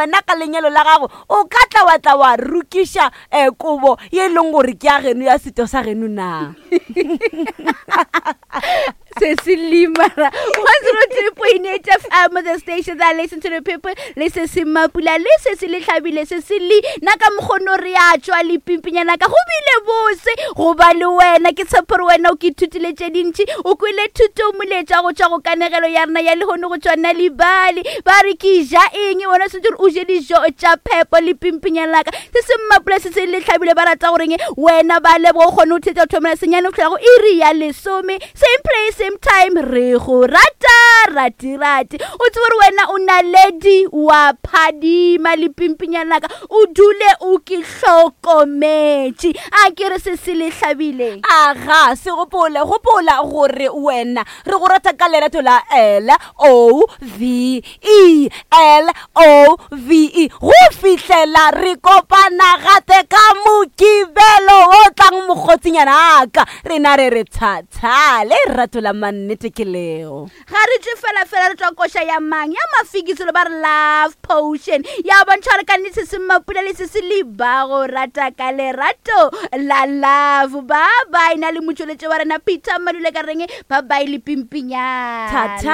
wena ka lenyalo la gago o ka tla wa tla wa rukiša um kobo ye e leng gore ke ya geno ya setho sa geno na se se limara 103.8 fm the station that listen to the people le se se mapula le se se le hlabile se se le na ka mokgono re a tšwa le pimpinyana ka go bile bose go ba le wena ke tshepo gore wena o ke ithutile tše dintši o kwele thuto moletša go tšwa go kanegelo ya rena ya lehono go tšwa nalibali ba re ke ja eng wena sentse gore o je dijo tša phepo le pimpinyana laka se se mmapula se se le hlabile ba rata goreng wena ba leboga o kgone go thetša go thomela senyane go tlhola go iri ya lesome same place same time re go rata ratirati o tsebe gore wena o naledi wa phadima le pimpinyana laka o dule o ke hlokometše a ke re se se le hlabile aga se gopole gopola gore wena re go rata ka lerato la l o v e l o v e go fihlela re kopana gape ka mokibelo o tlang mokgotsinyana aka rena re re thatha le rato la mannete ke leo ga re tšwe fela fela re tšwa koša ya mang ya mafikisolo ba re love potion ya bontšha gore ka nnete se se mapula le se se leba go rata ka lerato la love ba bye na le motšweletše wa rena peter madule ka reng ba bye le pimpinyana Thata.